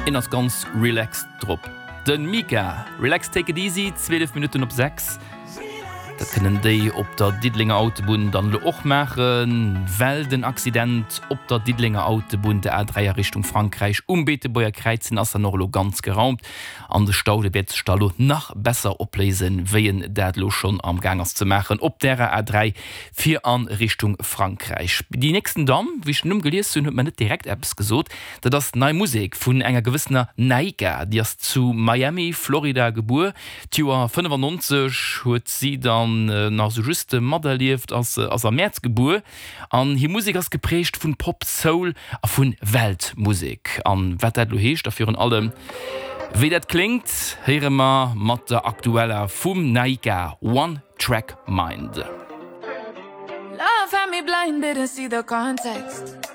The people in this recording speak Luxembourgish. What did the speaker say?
Een ass ganz relaxed drop. Den Mika, Relax take it easy, 12 Minutten op 6. Dat kënnen déi op der Diddelenger Autobunn dann elo och maachen, well den Accident op der Diddelenger Autobunn, der A3 a Richtung Frankräich um Beetebuerger Kräiz, den ass dann och elo ganz geraumt an de Stau, dee wäert sech da elo nach besser opléisen, wéi en dat elo schonn am Gaang ass ze maachen op därer A3 fir a Richtung Frankräich. Déi nächsten Damm, wéi ech den Numm gelies hunn, huet mer net direkt eppes gesot. Dat ass nei Musek vun enger gewëssener Naika. Déi ass zu Miami, Florida gebuer. D'Joer 95 huet si dann nach esou just materlieft, ass ass am Mäerz gebuer an hir Musek ass geprägt vun Pop, Soul a vun Weltmusek. An wat dat elo heescht a virun allem wéi dat kléngt, héiere mer mat der aktueller vum Naika, One Track Mind. Love had me blind, didn't see the context.